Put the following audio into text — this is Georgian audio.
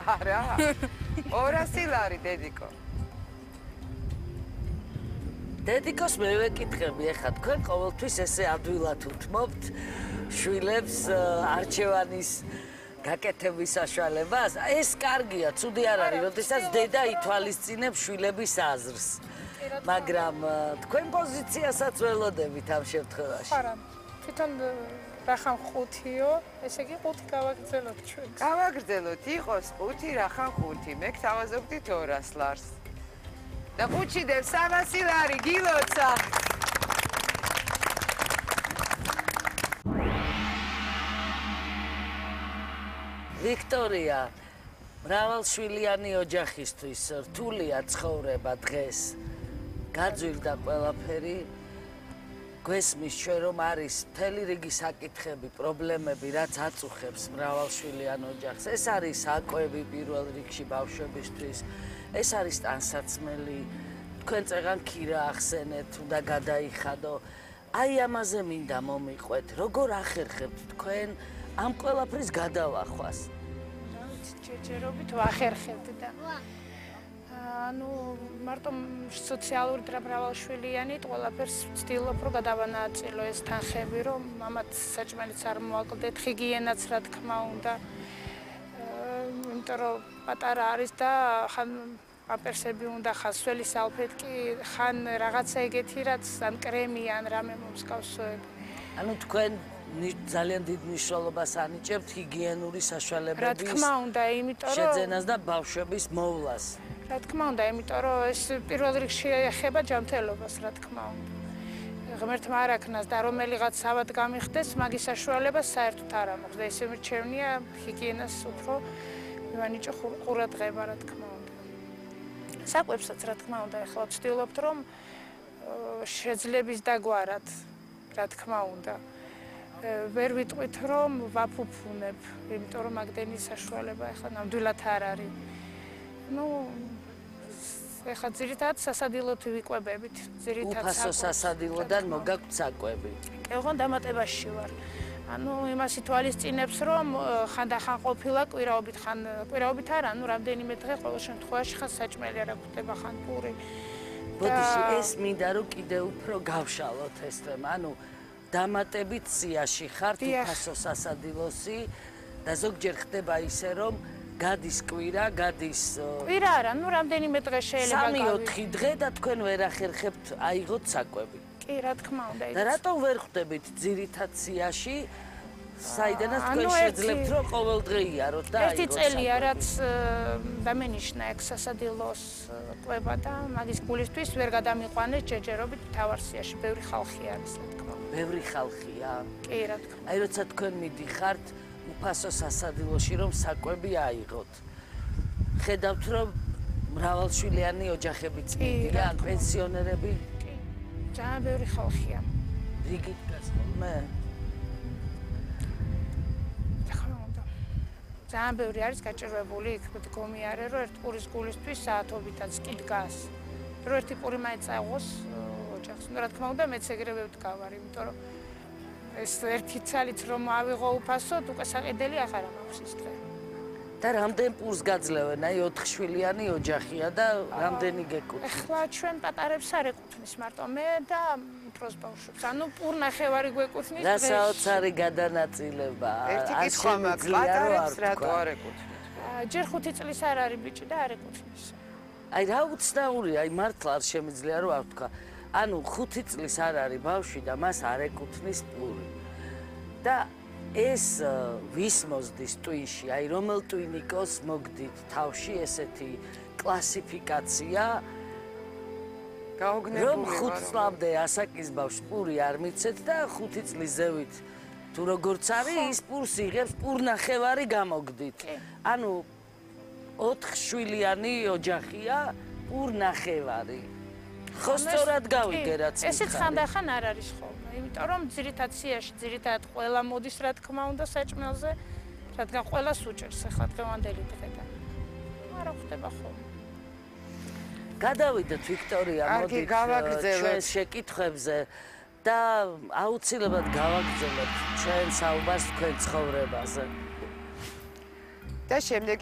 არა. 200 ლარი დედიკო. დედიკოს მე ვეკითხები, ეხლა თქვენ ყოველთვის ესე ადვილად უთმობთ შვილებს არჩევანის გაკეთების საშუალებას. ეს კარგია, ცუდი არ არის, როდესაც დედა ითვალისწინებს შვილების აზრს. მაგრამ თქვენ პოზიციასაც ველოდებით ამ შემთხვევაში. არა. თვითონ რახან 5-იო, ესე იგი 5 გავაგრძელოთ ჩვენ. გავაგრძელოთ, იყოს 5, რახან 5. მე გთავაზობდით 200 ლარს. და 5-ში დევ 300 ლარი გილოცა. ვიქტორია, მრავალშვილიანი ოჯახისთვის რთულია ცხოვრება დღეს. გაძვირდა ყველაფერი. გვესმის ჩვენ რომ არის მთელი რიგი საკითხები, პრობლემები, რაც აწუხებს მრავალშვილიან ოჯახს. ეს არის საკვები პირველ რიგში ბავშვებისთვის. ეს არის ტანსაცმელი. თქვენ წეღან ქირა ახსენეთ, უნდა გადაიხადო. აი ამაზე მინდა მომიყვეთ. როგორ ახერხებთ თქვენ ამ ყველაფრის გადალახვას? ჯერჯერობით ვახერხებთ და ანუ მარტო სოციალური მრავალშვილიანი ყველაფერს ვცდილობ რომ გადავანაწილო ეს თანხები რომ მამაც საჭმელიც არ მოაკლდეთ ჰიგიენაც რა თქმა უნდა იმიტომ რომ პატარა არის და ხან პამპერსები უნდა ხან სველი სალფეტკი ხან რაღაცა ეგეთი რაც ან კრემი ან რამე მომსკავსოები ანუ თქვენ ძალიან დიდ მნიშვნელობას ანიჭებთ ჰიგიენური საშუალებების რა თქმა უნდა იმიტომ რომ შეძენას და ბავშვების მოვლას რა თქმა უნდა, იმიტომ რომ ეს პირველ რიგში ეხება ჯანმრთელობას, რა თქმა უნდა. ღმერთმა არ აქნას და რომელიღაც ავად გამიხდეს, მაგის საშუალება საერთოდ არ ამოხს და ესე მირჩევნია ჰიგიენას უფრო მივანიჭო ყურადღება, რა თქმა უნდა. საკვებსაც, რა თქმა უნდა, ახლა ვცდილობთ, რომ შეძლების დაგვარად, რა თქმა უნდა. ვერ ვიტყვით, რომ ვაფუფუნებ, იმიტომ რომ მაგდენი საშუალება ახლა ნამდვილად არ არის. ну ეხლა ძირითადად სასადილოთ ვიკვებებით ძირითადად უფასო სასადილოდან მოგაქვთ საკვები კი ოღონდ დამატებაში ვარ ანუ იმას ითვალისწინებს რომ ხანდახან ყოფილა კვირაობით არა ანუ რამდენიმე დღე ყოველ შემთხვევაში ხან საჭმელი არა გვხვდება ხან პური ბოდიში ეს მინდა რომ კიდე უფრო გავშალოთ ეს თემა ანუ დამატებით სიაში ხართ უფასო სასადილოსი და ზოგჯერ ხდება ისე რომ გადის კვირა, გადის კვირა არა, ну რამდენიმე დღე შეიძლება გავიგოთ. 3-4 დღე და თქვენ ვერ ახერხებთ აიღოთ საკვები. კი, რა თქმა უნდა. და რატომ ვერ ხვდებით ძირითად სიაში, საიდანაც თქვენ შეძლებთ რომ ყოველ დღე იაროთ და აიღოთ. ერთი წელია, რაც დამენიშნა ეგ სასადილოს კვება და მაგის გულისთვის ვერ გადამიყვანეს ჯერჯერობით მთავარ სიაში. ბევრი ხალხი არის, რა თქმა უნდა. ბევრი ხალხია. კი, რა თქმა უნდა. აი როცა თქვენ მიდიხართ უფასო სასადილოში რომ საკვები აიღოთ. ხედავთ რომ მრავალშვილიანი ოჯახებიც მიდიან, პენსიონერები. კი. ძალიან ბევრი ხალხია. რიგით გასხოლმე? ძალიან ბევრი არის გაჭირვებული, იქ გომიარე რომ ერთ პურის გულისთვის საათობითაც კი დგას. რომ ერთი პური მაინც აიღოს ოჯახს. რა თქმა უნდა, მეც ეგრევე ვდგავარ, იმიტომ რომ ეს ერთი ცალიც რომ ავიღო უფასოდ, უკვე საყიდელი აღარ მაქვს ის დღე. და რამდენ პურს გაძლევენ? აი 4 შვილიანი ოჯახია და რამდენი გეკუთვნის? ახლა ჩვენ პატარებს არ ეკუთვნის მარტო მე და უფროს ბავშვებს. ანუ პურ ნახევარი გვეკუთვნის დღეს. რა საოცარი გადანაწილება. ერთი კითხვა მაქვს, პატარებს რატო არ ეკუთვნით? ჯერ 5 წლის არ არის ბიჭი და არ ეკუთვნის. აი რა უცნაურია, აი მართლა არ შემიძლია რომ არ ვთქვა. ანუ 5 წლის არ არის ბავშვი და მას არ ეკუთვნის პური. და ეს ვის მოსდის ტვინში, აი რომელ ტვინიკოს მოგდით თავში ესეთი კლასიფიკაცია გაოგნებული რომ 5 წლამდე ასაკის ბავშვს პური არ მიცეთ და 5 წლის ზევით თუ როგორც არის ის პურს იღებს პურნახევარი გამოგდით. ანუ 4 შვილიანი ოჯახია პურნახევარი. ხო სწორად გავიგე რაც მითხარი. ესეც ხანდახან არ არის ხოლმე, იმიტომ რომ ძირითად სიაში ძირითადად ყველა მოდის რა თქმა უნდა საჭმელზე, რადგან ყველას უჭერს ახლა დღევანდელი დღიდან. არა ხდება ხოლმე. გადავიდეთ ვიქტორია, მოდით ჩვენს შეკითხვებზე და აუცილებლად გავაგრძელებთ ჩვენ საუბარს თქვენ ცხოვრებაზე. და შემდეგ